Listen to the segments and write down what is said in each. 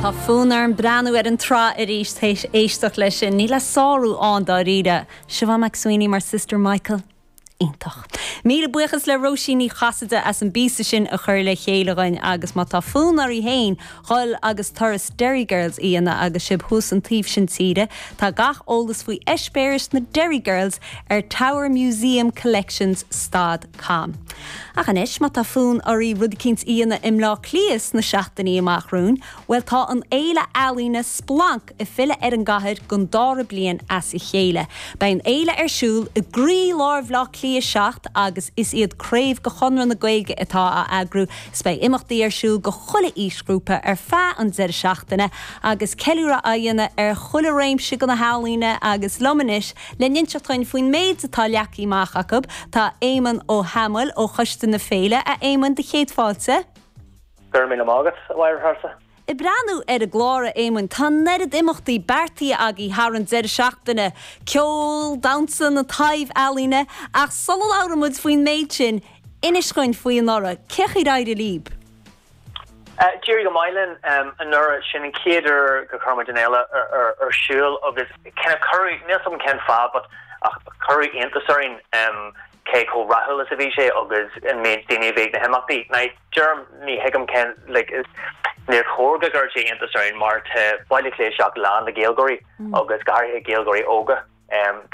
Tá fonn orm breathnú ar an tsraith arís théis éisteacht leis sin. Níl a sárú ann dáiríre. Siobhán McSweeney mar Sister Michael. Iontach. Míle buíochas le Róisín Ní Chasaide as an bpíosa sin a chur le chéile dhuinn agus má tá fonn oraibh féin dhul agus turas Derry Girls a dhéanamh agus sibh thuas an taobh sin tíre, tá gach eolas faoi eispéiris na Derry Girls ar towermuseumcollections stad com. Ach anois, má tá fonn oraibh rud eicínt a dhéanamh i mBleá Cliath sna seachtainí amach romhainn, bhuel tá an fhéile ealaíne Splanc ag filleadh ar an gcathair don dara bliain as a chéile. Beidh an fhéile ar siúl i gcroí-lár Bhleá Cliath 7 agus is iad craobh de Chonradh na Gaeilge atá á eagrú. 'S beidh imeachtaí ar siúl do chuile aoisghrúpa ar feadh an deireadh seachtaine agus ceiliúradh á dhéanamh ar chuile réimse de na healaíona agus liom anois Le n-inseacht dhuinn faoin méid atá leagtha amach acu, tá Éamonn Ó hAdhmaill ó Choiste na Féile. A Éamoinn, do chéad fáilte. Go raibh míle maith agat, a Mháire Treasa. Ag breathnú ar an gclár, a Éamoinn, tá an oiread imeachtaí beartaithe agaibh thar an deireadh seachtaine, ceol, damhsa, na taibh-ealaíona, ach sula labhrann muid faoin méid sin, inis dhuinn faoi anuraidh, cén chaoi ar éirigh libh? D'éirigh go maith linn anuraidh. Sin an chéad uair gur chuir muid an fhéile ar siúl agus kind of cuireadh, níl 's agam cén fáth but ach cuireadh iontas orainn cé chomh rathúil is a bhí sé agus an méid daoine a bhí ag na himeachtaí. Now deirim, ní thuigim cén, like, níor chóir go gcuirfeadh sé iontas orainn mar tá Baile Átha Cliath 7 lán le Gaeilgeoirí agus go háirithe Gaeilgeoirí óga.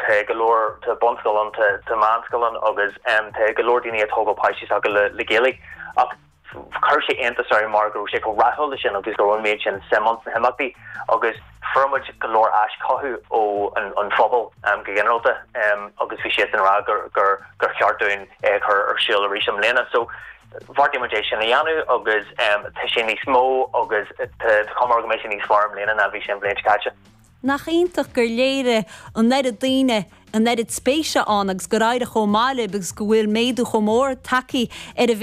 Tá go leor, tá bunscoil ann, tá meánscoil ann agus tá go leor daoine ag tógáil páistí s'acu le Gaeilge ach chuir sé iontas orainn mar go raibh sé chomh rathúil leis sin agus go raibh an méid sin suim ann sna himeachtaí agus fuair muid go leor aischothú ó an phobal go ginearálta agus bhí siadsan ag rá gur gur gur cheart dúinn é a chur ar siúl arís i mbliana. So bheartaigh muid é sin a dhéanamh agus tá sé níos mó agus tá cuma air go mbeidh sé níos fearr i mbliana ná bhí sé an bhliain seo caite. Nach iontach gur léirigh an oiread daoine an oiread spéise ann agus gur éirigh chomh maith libh agus go bhfuil méadú chomh mór tagtha ar an.